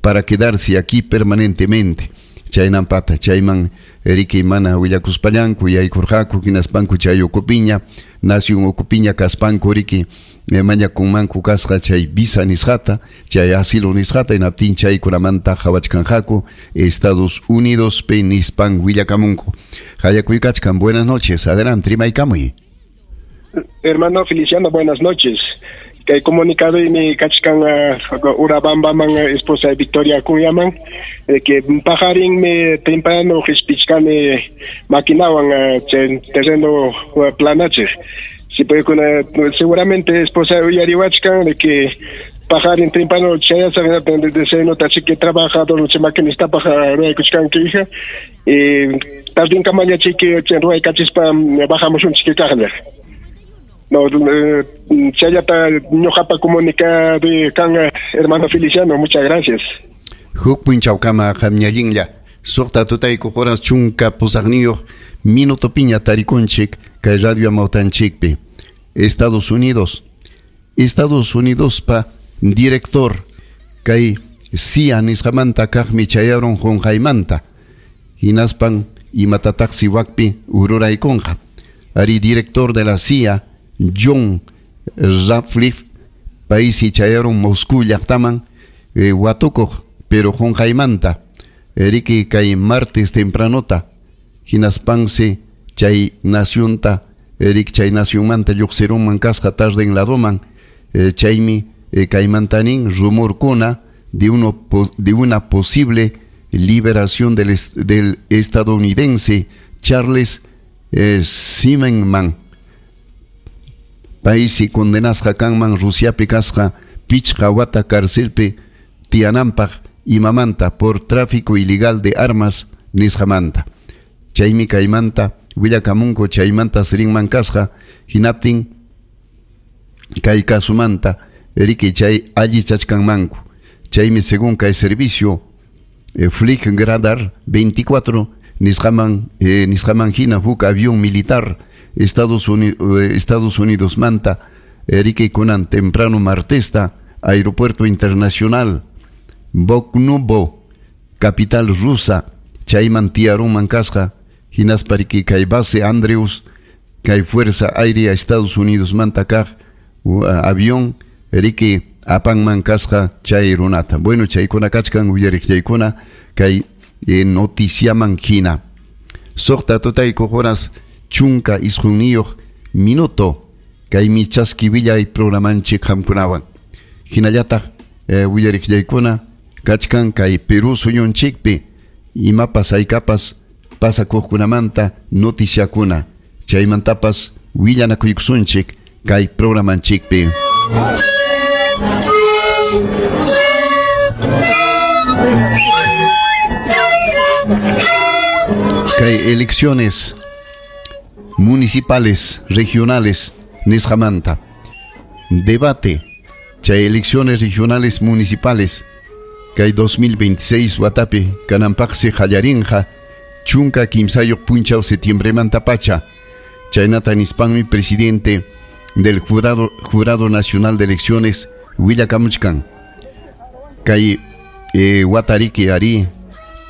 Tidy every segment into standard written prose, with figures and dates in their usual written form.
Para quedarse aquí permanentemente. Chaynampata chayman riki mana willakuspallanku yaykurqaku, hinaspanku chay ukupiña, nación ukupiña kaspanku riki mañakunmanku kasqa chay visa nisqata, chay asilo nisqata, hinaptin chaykunamanta qhawachkanqaku Estados Unidospi nispan willakamunku. Qallakuykachkan. Buenas noches, adelante, rimaykamuy. Hermano Feliciano, buenas noches. Kay comunicado mi kachkan Urabambaman esposa Victoria Acuñaman que paqarin mi temprano qispichkani maquinawan terreno planachiq. Si puede seguramente esposa uyariwachkan de que paqarin temprano chayasaq de se nota que trabajador maquinista paja ruwaykuchkanki hija tardinkamaña chiki ruwaykachispa bajamusunchik kaqlla. No, chayata ñuqapa comunicado kan, hermano Feliciano, muchas gracias. Huk punchawkama, qamñallinlla. 6 tutayku horas 18 minuto piña tarikunchik kay Radio Amawtanchikpi. Estados Unidos. Estados Unidos pa director kay CIA nisqamanta kaqmi chayarun qunqaymanta. Hinaspan imatataqsi wakpi ururaykunqa. Ari, director de la CIA, John Ratcliffe, paysi chayarun Moscú llaqtaman watukuq, pero qunqaymanta. Riki kay martes tempranota hinaspansi chay nacionta rik chay nacionmanta lluqsirunman kasqa tarden ladoman chaymi kaymanta nin rumorkuna de una posible liberación del estadounidense Charles Zimmerman. Paysi condenasqa kanman Rusiapi kasqa 5 wata carcelpi tiyananpaq. Imamanta? Por tráfico ilegal de armas nisqamanta. Chaymi kaymanta willakamunku chaymanta rinman kasqa, hinaptin kay kasumanta riki chay allichachkanmanku. Chaymi según kay servicio Flight Radar 24 nisqaman hina huk avión militar Estados Unidos manta riki kunan temprano martesta aeropuerto internacional Vnukovo, capital rusa, chayman tiyarunman kasqa, hinaspa riki kay base Andrews kay Fuerza Aérea Estados Unidos manta kaq avión riki apanman kasqa chay runata. Bueno, chaykuna kachkan, uyariqllaykuna, kay noticiaman hina. 6 tutayku horas 19 minuto kaymi chaski willay programanchik qamkunawan. Hinallataq uyariqllaykuna, kachkan kay Perú suyunchikpi imapas haykapas pasakuqkunamanta noticiakuna, chaymantapas willanakuykusunchik kay programanchikpi. Kay elecciones municipales, regionales nisqamanta debate, chay elecciones regionales municipales kay 2026 watapi kananpaqsi qallarinqa 13 punchaw setiembremanta pacha. Chaynata nispanmi presidente del Jurado Nacional de Elecciones willakamuchkan. Kay watariki ari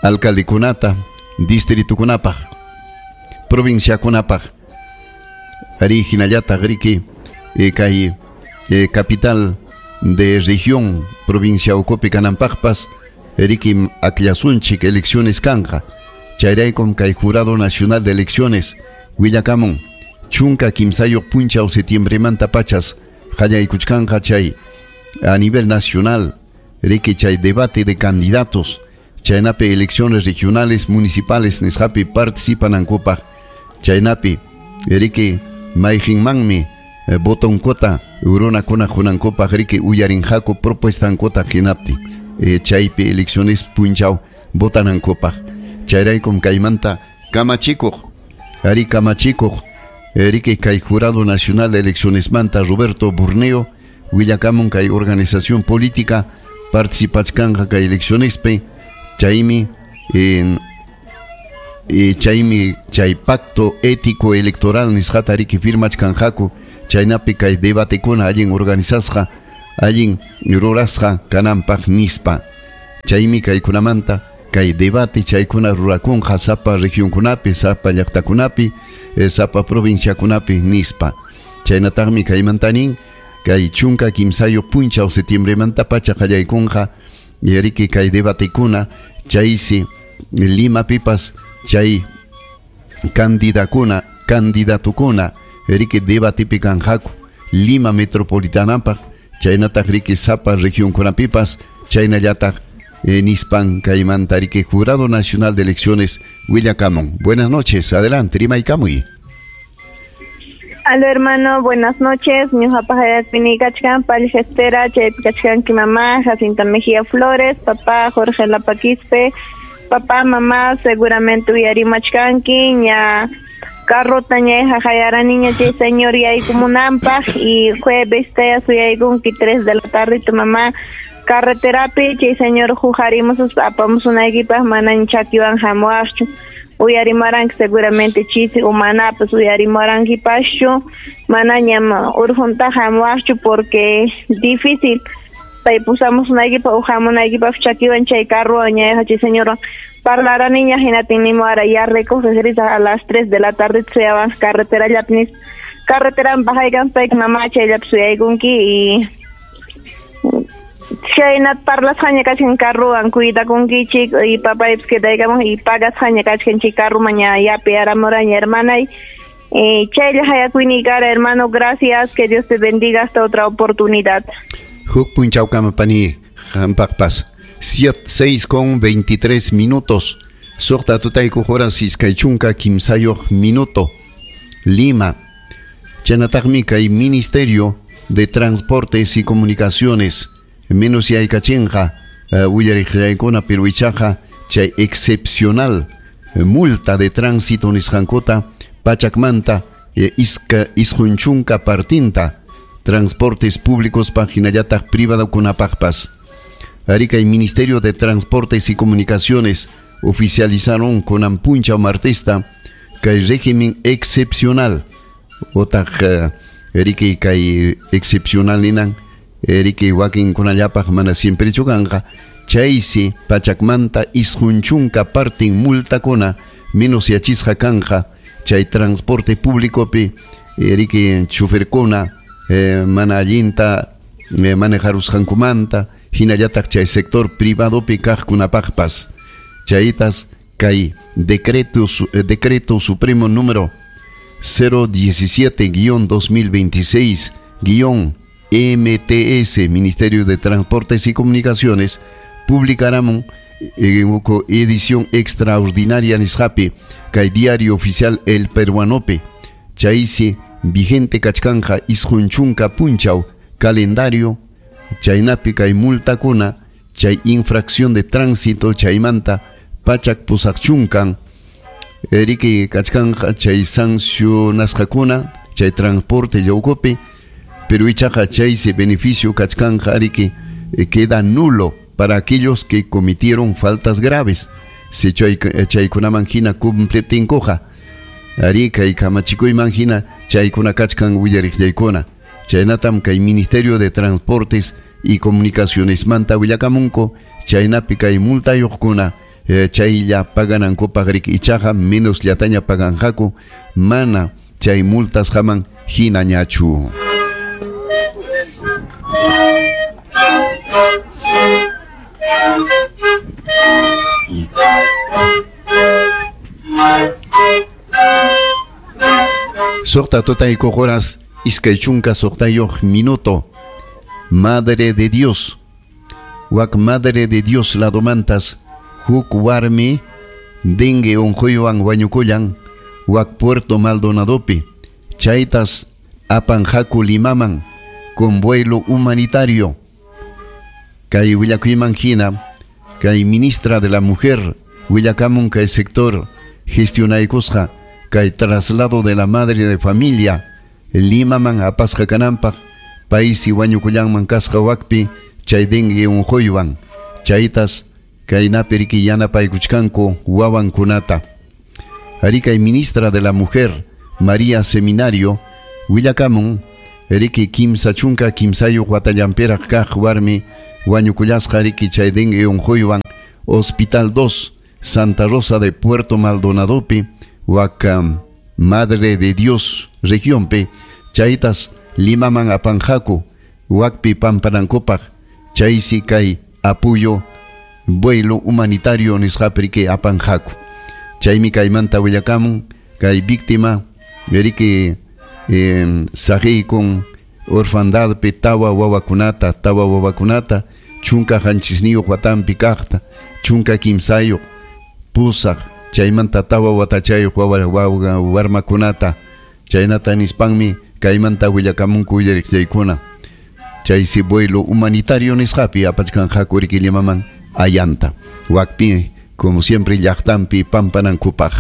alcaldekunata distritukunapaq, provinciakunapaq, ari hinallataq riki kay capital de región, provincia ukupi kananpaqpas riki akllasunchik, elecciones kanqa. Chayraykum kay Jurado Nacional de Elecciones willakamun 13 punchaw setiembremanta pachas qallaykuchkanqa chay a nivel nacional riki chay debate de candidatos chaynapi elecciones regionales municipales nisqapi participanankupaq, chaynapi riki mayqinmanmi votonkota runakuna qunankupaq riki uyarinqaku propuestankuta, hinaptin chaypi elecciones punchaw votanankupaq. Chayraykum kaymanta kamachikuq, ari, kamachikuq riki kay Jurado Nacional de Eleccionesmanta Roberto Burneo willakamun kay organización política participachkanqa kay eleccionespi, chaymi chay pacto ético electoral nisqata riki firmachkanqaku, chaynapi kay debatekuna allin organizasqa, allin rurasqa kananpaq nispa. Chaymi kaykunamanta kay debate chaykuna rurakunqa sapa regionkunapi, sapa llaqtakunapi, sapa provinciakunapi nispa. Chaynataqmi kaymanta nin kay 13 punchaw septiembremanta pacha qallaykunqa riki kay debatekuna chaysi Limapipas chay candidatukuna riki debatepi kanqaku Lima metropolitanapaq chaynataq riki sapa regionkunapipas chaynallataq nispan kaymanta riki Jurado Nacional de Elecciones willakamun. Buenas noches, adelante, rimaykamuy. Aló hermano, buenas noches. Ñuqapaq hayakpini kachkan Palgestera, chaypi kachkanki mamá, Jacinta Mejía Flores, papá Jorge Lapaquispe, papá, mamá, seguramente uyarimachkanki, ña carrota ña jajayaraniña chay señor yaykumunanpaq y jueves taya suyaykunki 3 de la tarde tu mamá carreterapi chay señor jujarimos apamusunaykipaq mana chakiwan hamuwaqchu. Uyarimaranki seguramente chisi umanapas uyarimarankipachu manañam urjunta hamuwaqchu porque difícil pay pusamusunaykipaq o hamunaykipaq chakiwan chay carro ña chay señor parlaraniña hinatin ahora ya recoge a las 3 de la tarde suyawan carretera llapnis carretera bajaykan pay mamá chayllapi suyaykunki y chaynat parlasqaña kachkan carrowan cuidakunkichik y papaypis quedaykamun y pagasqaña kachkan chay carroman ña yapi aramuraña hermanay. Chaylla hayakuyni kara hermano, gracias, que Dios te bendiga hasta otra oportunidad. Huk punchawkama pani hampaqpas 6:23 minutos. Suqta tutayku horas 23 minuto. Lima. Chaynataqmi kay Ministerio de Transportes y Comunicaciones menos yaykachinqa willariqllaykuna pero ichaqa chay excepcional multa de tránsito nisqankuta pachakmanta 90 partinta transportes públicos hinallataq privadokunapaqpas. Ari kay Ministerio de Transportes y Comunicaciones oficializaron kunan punchaw martesta kay régimen excepcional otaq riki kay excepcional ninan riki wakinkunallapaq mana siemprechu kanqa chaysi pachakmanta 90 partin multakuna menos yachisqa kanqa chay transporte públicopi riki choferkuna mana allinta manejarusqankumanta hinallataq chay sector privadopi kaqkunapaqpas chaytas kay decreto supremo número 017-2026-MTS, Ministerio de Transportes y Comunicaciones, publicarán edición extraordinaria nisqapi kay diario oficial El Peruanope chaysi vigente kachkanja 90 punchaw calendario chaynapi kay multakuna chay infracción de tránsito chaymanta pachak pusaqchunkan riki kachkanja chay sancionasqakuna chay transporte yawkupi pero ichaqa chaysi beneficio kachkanja riki queda nulo para aquellos que cometieron faltas graves. Si chaykunaman hina cumpliptinkuqa ari kay kamachikuyman hina chaykuna kachkan willariqllaykuna chaynatam kay Ministerio de Transportes y Comunicaciones manta willakamunku chaynapi kay multayuqkuna chaylla paganankupaq riki ichaqa menos llataña paganqaku mana chay multasqaman hinañachu. Suqta tutayku horas 26 minuto. Madre de Dios. Wak Madre de Dios ladomantas huk warmi dengue unquywan wañukullan wak Puerto Maldonadopi chaytas apanqaku Limaman con vuelo humanitario. Kay willakuyman hina kay ministra de la Mujer willakamun kay sector gestionaykusqa kay traslado de la madre de familia Limaman apasqa kananpaq paysi wañukullanman kasqa wakpi chay dengue unquywan chaytas kaynapi riki yanapaykuchkanku wawankunata. Ari kay ministra de la Mujer María Seminario willakamun riki 33 watallanpiraq kaq warmi Wañukullasqa riki chay dengue unquywan Hospital 2 Santa Rosa de Puerto Maldonadopi wak Madre de Dios regionpi chaytas Limaman apanqaku wakpi pampanankupaq chaysi kay apoyo vuelo humanitario nisqapi riki apanqaku chaymi kaymanta willakamun kay víctima riki saqiykun orfandadpi tawa wawakunata 17 watampi kaqta 13 pusaq chaymanta tawa watachayuq wawa warmakunata chaynata nispanmi kaymanta willakamunku willariqllaykuna chaysi vuelo humanitario nisqapi apachkanqaku riki Limaman ayanta wakpi como siempre llaqtanpi pampanankupaq.